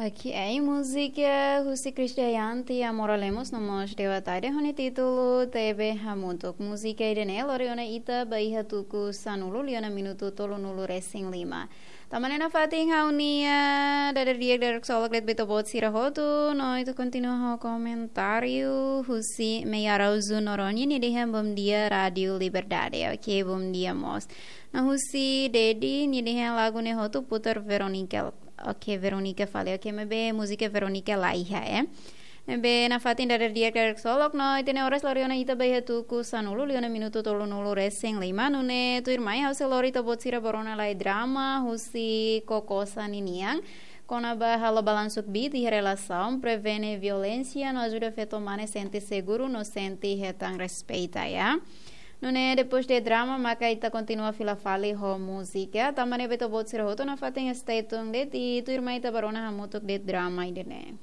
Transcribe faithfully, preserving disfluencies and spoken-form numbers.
Oke, múzika husi Krisdayanti Amora Lemos no mós Dewa Tade ho nia títulu Tebe Hamutuk. Múzika ida-ne'e lori ona ita ba iha tuku sanulu liu ona minutu tolunulu resin lima. Tanba ne'e nafatin ha'u-nia dadeer-di'ak dadeer-ksolok de'it ba ita-boot sira hotu, no ita kontinua ho komentáriu husi Mei Araújo Noronha, nia dehan bom dia Rádio Liberdade. Oke, bom dia mós. No husi Dedi, nia dehan lagu ne'e hotu putar Veronica. Oke, Veronica fali. Oke, maibé múzika Veronica la iha, eh. Ne'ebé nafatin dadeer-di'ak dadeer-ksolok no ita-nia oras lori ona ita ba iha tuku sanulu liu ona minutu tolunulu resin lima, nune'e tuirmai ha'u sei lori ita-boot sira ba rona lai drama husi Kokosa ninian. Kona-ba halo balansu kbiit iha relasaun, prevene violénsia no ajuda feto mane sente seguru no sente hetan respeita, ya. Nune'e depois de drama maka ita kontinua fila fali ho múzika. Tanba ne'e ba ita-boot sira hotu nafatin stay tuned de'it, i tuirmai ita ba rona hamutuk de'it drama ida-ne'e.